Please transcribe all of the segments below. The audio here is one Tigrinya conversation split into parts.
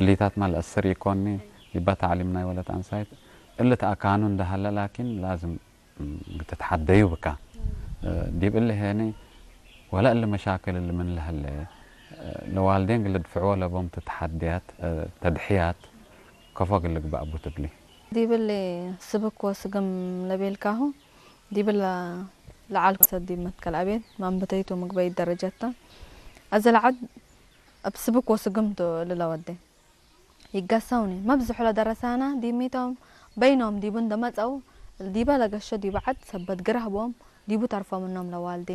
እሊታት ማል እስር ይኮኒ ይባ ታዕሊም ናይ ወለት ኣንሳይት እልት ኣካኑ እንዳሃለ ላኪን ላዝም ም፣ ግትትሓደዩ ብካ እ፣ ዲብ እሊ ሄኒ ወላ እሊ መሻክል እሊ ምን ለህለ እ፣ ለዋልዴን ግልድፍዕዎ ለቦም ትትሓድያት እ፣ ተድሕያት ከፎ ግልግባእ ቡ ትብሊ። ዲብሊ ስብክ ወስግም ለቤልካሁ ዲብላ ለዓልኩ ሰዲብ መትከል ኣቤት ማንበተይቱ ምግበይ ደረጀታ ኣዘ ለዓድ ኣብ ስብክ ወስግም ቱ ልለወዴ ይጋሳውኒ መብዝሑ ለደረሳና ዲሚቶም በይኖም ዲቡ እንደመጸው ዲበ ለገሾ ዲበ ዓድ ሰበት ግራህቦም ዲቡ ተርፎምኖም ለዋልዴ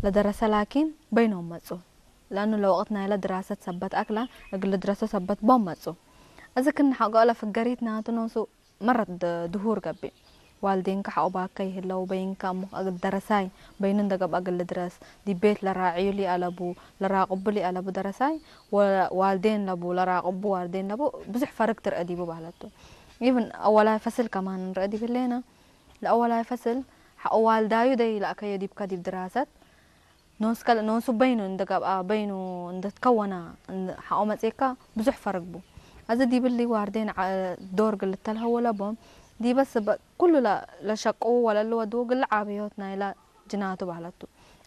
ለደረሰ ላኪን በይኖም መጹ። ለእኑ ለወቅት ናይለ ድራሰት ሰበት ኣክላ እግል ልድረሶ ሰበት ቦም መጹ። እዚ ክን ሐቆ ለፍገሪት ናቱ ኖሱ መረት ድሁር ገብእ። ዋልዴንካ ሐቆ ባከ ይህለው በይንካ እሞ እግል ደረሳይ በይኑ እንደ ገብአ እግል ልድረስ ዲቤት ለራዕዩ ሊአለቡ ለራቅቡ ሊአለቡ ደረሳይ ወ- ዋልዴን ለቡ ለራቅቡ ዋልዴን ለቡ ብዙሕ ፈርግ ትርአ ዲቡ ባህለቱ። ኢቭን አወላይ ፈስል ከማን ንርአ ዲብሌና ለአወላይ ፈስል ሐቆ ዋልዳዩ ደይ ለአከዮ ዲብካ ዲብ ድራሰት ኖስከ ኖሱ በይኑ እንደ ገብኣ በይኑ እንደ ትከወና እንደ ሓኦ መጽየካ ብዙሕ ፈርግቡ። ኣዚ ዲብሊ ዋርዴን ዓ- ዶር ግልተል ሀወለቦም ዲበ ስበ ኩሉ ለ- ለሸቅዉ ወለል ወድዉ ግል ዓብዮት ናይላ ጅናቱ ባህለቱ።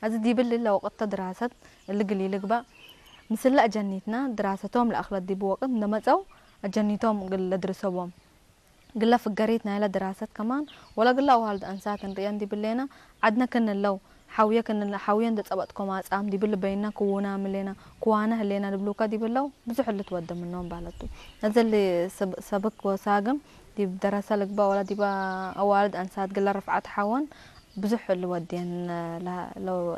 ኣዚ ዲብሊ ለወቅተ ድራሰት እሊ ግሊ ልግባእ ምስለ ኣጀኒትና ድራሰቶም ለኣኽለ ዲቡ ወቅት እንደመጸው ኣጀኒቶም ግል ለድርሰቦም። ግለ ፍገሪት ናይለ ድራሰት ከማን ወለ ግለ ኣዋልድ ኣንሳት እንርእየን ዲብሌና ዓድነ ክንለው ሓውየ ክንለ ሓውየ እንደ ጸበጥኮ ማጻም ዲብል በይና ክውና ምሌና ክዋነ ህሌና ድብሉካ ዲብለው ብዙሕ እሊ ትወደ ምኖም ባለቱ። ነዘሊ ሰብ- ሰብክ ወሳግም ዲብ ደረሰ ልግባ ወላ ዲባ ኣዋልድ ኣንሳት ግለ ርፍዓት ሓወን ብዙሕ እሊ ወዴን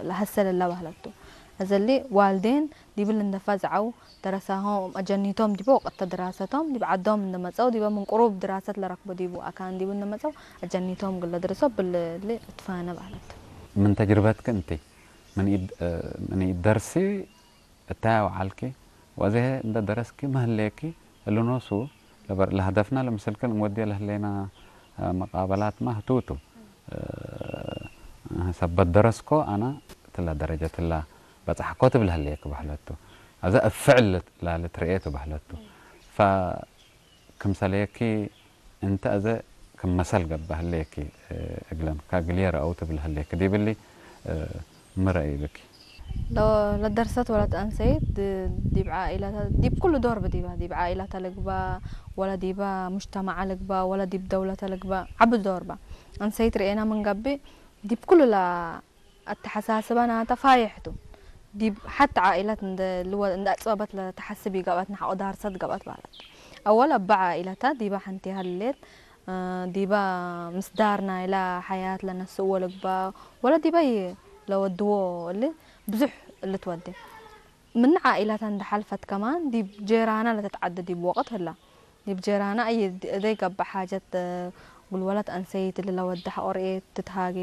ለሃሰለላ ባህለቱ። ነዘሊ ዋልዴን ዲብል እንደፋ ዝዓው ደረሳሆም ኣጀኒቶም ዲቦ ወቀተ ድራሰቶም ዲብ ዓዶም እንደመጸው ዲበ ምን ቁሩብ ድራሰት ለረክቦ ዲቡ ኣካን ዲቡ እንደመጸው ኣጀኒቶም ግለ ድርሶ ብልል እትፋነ ባህለት። ምን ተጅርበትክ እንቲ ምን ኢድ እ፣ ምን ኢድ ደርሲ እታያው ዓልኪ ወዘሄ እንደ ደረስኪ መህሌኪ እልኖሱ ለበር ለህደፍና ለምስልክል እንወዲየ ለህሌና እ፣ መቃበላት ማ ህትውቱ እ፣ ሰበት ደረስኮ ኣና ትላ ደረጀ ትላ በጻሕኮ ትብል ህሌክ ባህለቱ። ኣዛ እፍዕል ላለ ትርኤቱ ባህለቱ። ፋ ክምሰለየኪ እንተ ኣዘ ክም መሰል ገባ ህለየኪ እ፣ እግለም ካግልየ ረአው ትብል ህለየኪ ዲብሊ እ፣ ምረ ይብኪ። ሎ- ለደርሰት ወለት ኣንሰይት ድ- ዲብ ዓኢላታ ዲብ ኩሉ ዶር ብዲባ ዲብ ዓኢላታ ልግባ ወላ ዲባ ሙጅተማዓ ልግባ ወላ ዲብ ደውለተ ልግባ ዓቢ ዶር ባ። ኣንሰይት ርኤና ምን ገብእ ዲብ ኩሉ ላ ኣተሓሳስባ ናታ ፋይሕ ቱ። ዲብ ሓቲ ዓኢላት እንደ ልወ- እንደ ኣጽበበት ለተሓስብ ይገብኣት ንሓቆ ዳርሰት ገብኣት ባላት። ኣወል ኣባ ዓኢላታ ዲባ ሓንቲ ሃልሌት እ፣ ዲባ ምስዳር ናይላ ሓያት ለነስእዎ ልግባ ወላ ዲባይ ለወድዎ እሊ ብዙሕ እሊ ትወዴ። ምን ዓኢላት እንደ ሓልፈት ከማን ዲብ ጄራና ለተትዓደ ዲብ ወቅት ህላ። ዲብ ጄራና ኣየ ድ- ደይ ገብእ ሓጀት እ፣ ጉልወለት ኣንሰይት እሊ ለወደ ሓቆርኤት ትትሃጌ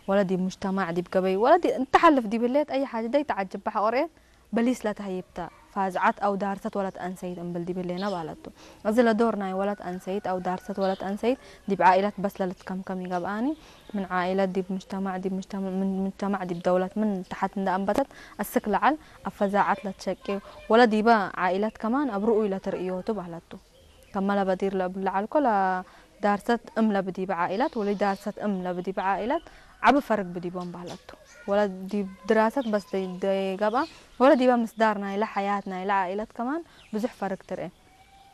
ወላ ዲብ ሙጅተማዕ ዲብ ገበይ ወላ ዲ- እንተሓልፍ ዲብ ህሌት ኣየ ሓጀ ደይ ተዓጅባ ሓቆርኤት በሊስ ለተህይብተ ፋዝዓት ኣው ዳርሰት ወለት ኣንሰይት እምብል ዲብ ህሌና ባለቱ። እዚ ለዶር ናይ ወለት ኣንሰይት ኣው ዳርሰት ወለት ኣንሰይት ዲብ ዓኢላት በስ ለልትከምከም ይገብኣኒ። ምን ዓኢላት ዲብ ሙጅተማዕ ዲብ ሙጅተማዕ ምን ሙጅተማዕ ዲብ ደውለት ምን ተሓት እንደ ኣንበተት ኣስክ ለዓል ኣብ ፈዛዓት ለትሸቂ ወለ ዲበ ዓኢላት ከማን ኣብ ርኡይ ለትርእዮቱ ባለቱ። ከመ ለበዲር ለእብሉ ለዓልኮ ለዳርሰት እም ለብዲበ ዓኢላት ወለ ዳርሰት እም ለብዲበ ዓኢላት ዓቢ ፈርግ ብዲቦም ባለቱ። ወለ ዲብ ድራሰት በስ ደይ- ደይገብኣ ወለ ዲበ ምስዳር ናይለ ሓያት ናይለ ዓኢላት ከማን ብዙሕ ፈርግ ትርኤ።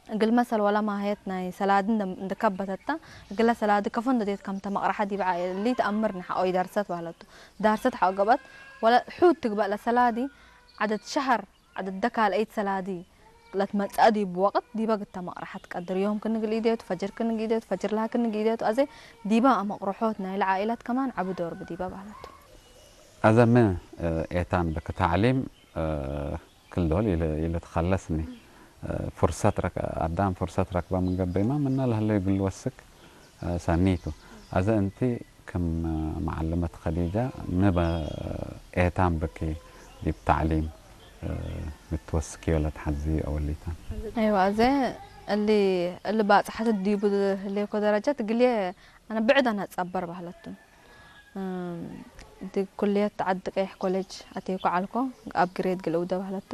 እግል መሰል ወላ ማህየት ናይ ሰላዲ እንደ- እንደከበተታ እግለ ሰላዲ ከፎ እንደዴት ከምተ መቅረሓ ዲበ ዓኢሊ ተኣምር ንሓቆ ይዳርሰት ባለቱ። ዳርሰት ሓቆ ገብኣት ወለ ሑድ ትግበእ ለሰላዲ ዓደት ሸሀር ዓደደ ካልአይት ሰላዲ ለትመጽአ ዲብ ወቅት ዲበ ግተ መቅረሐት ቀድር ዮም ክንግል ኢዴቱ ፈጅር ክንግ ኢዴቱ ፈጅር ለሃ ክንግ ኢዴቱ አዜ ዲበ አመቅርሖት ናይለ ዓኢላት ከማን ዐቢ ዶር ብዲበ በህለቱ። አዘ ምን ኤታን ብክ ተዕሊም ክልዶል ኢልትኸለስኒ ፍርሰት ረክ- አዳም ፍርሰት ረክበ ምን ገብይማ ምና ለህለ እግል ወስክ ሰኒቱ። አዘ እንቲ ክም መዓለመት ከዲጃ ምን ኤታን ብኪ ዲብ ተዕሊም ምትወስክዮ ለትሓዚ አወሊታን። አይዋ አዘ እሊ እሊ ባጽሐት ዲቡ ህሌኮ ደረጃት እግልየ አነ ብዕድ አነ ጸበር ባህለቱ። እም፣ ዲ ኩልየት ዓዲ ቀይሕ ኮሌጅ አቴኮ ዓልኮ አብ ግሬድ ግልውደ ባህለቱ።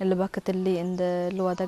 እሊ በክትሊ እንደ ልወደ